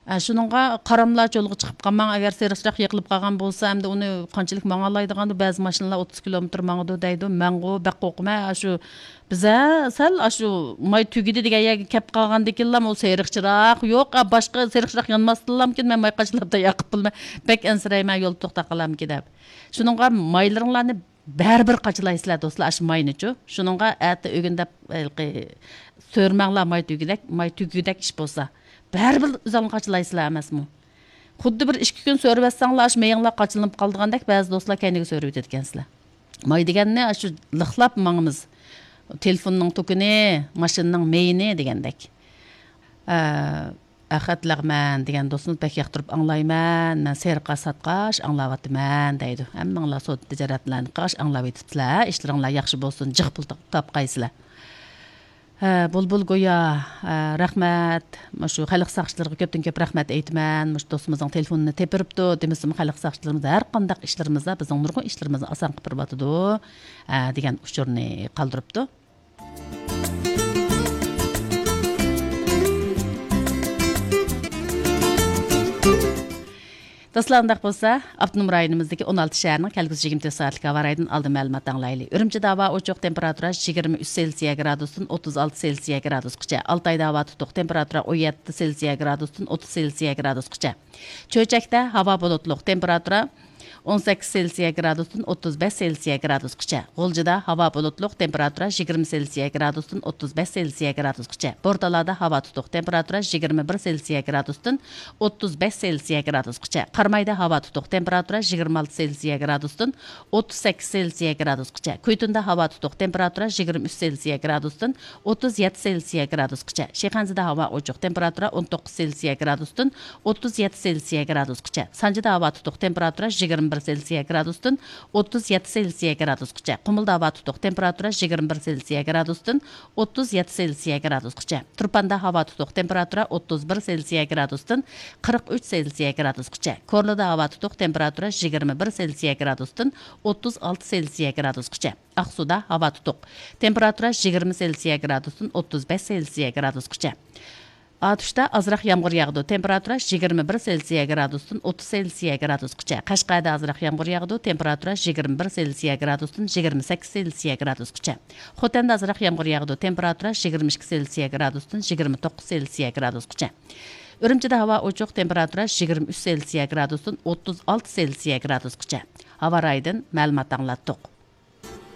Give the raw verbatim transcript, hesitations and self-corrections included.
ئە، شۇنىڭغا قاراملا چولغا چىقىپ قالماڭ، ئەگەر سېرىقچىراق يېقىلىپ قالغان بولسا، ئەمدى ئۇنى قانچىلىك ماڭالايدىغاندۇ، بەزى ماشىنىلار ئوتتۇز كىلومېتىر ماڭىدۇ دەيدۇ، ماڭغۇ، بەك قورقىمەن، ئاشۇ بىز، ھە، سەل ئاشۇ ماي تۈگىدى دېگەن يەرگە كەپ قالغاندىكىنلا ئۇ سېرىقچىراق يوق، ئە، باشقا سېرىقچىراق يانماستىنلامكىن، مەن ماي قاچىلاپ ياقىپ بولىمەن، بەك ئەنسىرەيمەن، يولدا توختاپ قالامكى دەپ. شۇنىڭغا مايلىرىڭلارنى بەرىبىر قاچىلايسىلەر دوستلار، ئاشۇ ماينىچۇ. شۇنىڭغا ئەتە ئۆگۈن دەپ، ھېلىقى، سۆرىمەڭلار ماي تۈگىدەك، ماي تۈگىدەك ئىش بولسا. بەرىبىر ئۆزۈڭلار قاچىلايسىلەر ئەمەسمۇ؟ خۇددى بىر ئىككى كۈن سۆرىۋەتسەڭلار، ئاشۇ مېيىڭلار قاچىلىنىپ قالىدىغاندەك، بەزى دوستلار كەينىگە سۆرىۋېتىدىكەنسىلەر. ماي دېگەننى ئاشۇ لىقلاپ ماڭىمىز. تېلېفوننىڭ توكىنى، ماشىنىنىڭ مېيىنى دېگەندەك. ئە، ئەخەت لەغمەن دېگەن دوستىمىز بەك ياقتۇرۇپ ئاڭلايمەن، مەن سېرىققا ساتقاچ ئاڭلاۋاتىمەن دەيدۇ. ھەممىڭلار سودا تىجارەتلەرنى قىلغاچ ئاڭلاۋېتىپسىلەر، ئىشلىرىڭلار ياخشى بولسۇن، جىق پۇل تاپ-، تاپقايسىلەر. ھە، بۇلبۇل گويا، ھە، رەھمەت. مۇشۇ خەلق ساقچىلىرىغا كۆپتىن كۆپ رەھمەت ئېيتىمەن. مۇشۇ دوستىمىزنىڭ تېلېفونىنى تېپىرىپتۇ، دېمىسىمۇ خەلق ساقچىلىرىمىز ھەر قانداق ئىشلىرىمىزدا، بىزنىڭ نۇرغۇن ئىشلىرىمىزنى ئاسان قىلىپ بېرىۋاتىدۇ، ھە، دېگەن ئۇچۇرنى قالدۇرۇپتۇ. دوستلار، ئۇنداق بولسا، ئاپتونوم رايونىمىزدىكى ئون ئالتە شەھەرنىڭ كەلگۈسى يىگىرمە تۆت سائەتلىك ھاۋا رايىدىن ئالدىن مەلۇمات ئاڭلايلى. ئۈرۈمچىدە ھاۋا ئوچۇق، تېمپېراتۇرا يىگىرمە ئۈچ سېلسىيە گرادۇستىن ئوتتۇز ئالتە سېلسىيە گرادۇسقىچە. ئالتايدا ھاۋا تۇتۇق، تېمپېراتۇرا ئون يەتتە سېلسىيە گرادۇستىن ئوتتۇز سېلسىيە گرادۇسقىچە. چۆچەكتە ھاۋا بۇلۇتلۇق، تېمپېراتۇرا ئون سەككىز سېلسىيە گرادۇستىن ئوتتۇز بەش سېلسىيە گرادۇسقىچە. غۇلجىدا ھاۋا بۇلۇتلۇق، تېمپېراتۇرا يىگىرمە سېلسىيە گرادۇستىن ئوتتۇز بەش سېلسىيە گرادۇسقىچە. بورتالادا ھاۋا تۇتۇق، تېمپېراتۇرا يىگىرمە بىر سېلسىيە گرادۇستىن ئوتتۇز بەش سېلسىيە گرادۇسقىچە. قارامايدا ھاۋا تۇتۇق، تېمپېراتۇرا يىگىرمە ئالتە سېلسىيە گرادۇستىن ئوتتۇز سەككىز سېلسىيە گرادۇسقىچە. كۈيتۇندا ھاۋا تۇتۇق، تېمپېراتۇرا يىگىرمە ئۈچ سېلسىيە گرادۇستىن ئوتتۇز يەتتە سېلسىيە گرادۇسقىچە. شىخەنزىدە ھاۋا ئوچۇق، تېمپېراتۇرا ئون توققۇز سېلسىيە گرادۇستىن ئوتتۇز يەتتە سېلسىيە گرادۇسقىچە. سانجىدا ھاۋا تۇتۇق، تېمپېراتۇرا يىگىرمە بىر سېلسىيە گرادۇستىن ئوتتۇز يەتتە سېلسىيە گرادۇسقىچە. قۇمۇلدا ھاۋا تۇتۇق، تېمپېراتۇرا يىگىرمە بىر سېلسىيە گرادۇستىن ئوتتۇز يەتتە سېلسىيە گرادۇسقىچە. تۇرپاندا ھاۋا تۇتۇق، تېمپېراتۇرا ئوتتۇز بىر سېلسىيە گرادۇستىن قىرىق ئۈچ سېلسىيە گرادۇسقىچە. كورلىدا ھاۋا تۇتۇق، تېمپېراتۇرا يىگىرمە بىر سېلسىيە گرادۇستىن ئوتتۇز ئالتە سېلسىيە گرادۇسقىچە. ئاقسۇدا ھاۋا تۇتۇق، تېمپېراتۇرا يىگىرمە سېلسىيە گرادۇستىن ئوتتۇز بەش سېلسىيە گرادۇسقىچە. ئاتۇشتا ئازراق يامغۇر ياغىدۇ، تېمپېراتۇرا يىگىرمە بىر سېلسىيە گرادۇستىن ئوتتۇز سېلسىيە گرادۇسقىچە. قەشقەردە ئازراق يامغۇر ياغىدۇ، تېمپېراتۇرا يىگىرمە بىر سېلسىيە گرادۇستىن يىگىرمە سەككىز سېلسىيە گرادۇسقىچە. خوتەندە ئازراق يامغۇر ياغىدۇ، تېمپېراتۇرا يىگىرمە ئىككى سېلسىيە گرادۇستىن يىگىرمە توققۇز سېلسىيە گرادۇسقىچە. ئۈرۈمچىدە ھاۋا ئوچۇق، تېمپېراتۇرا يىگىرمە ئۈچ سېلسىيە گرادۇستىن ئوتتۇز ئالتە سېلسىيە گرادۇسقىچە. ھاۋا رايىدىن مەلۇمات ئاڭلاتتۇق.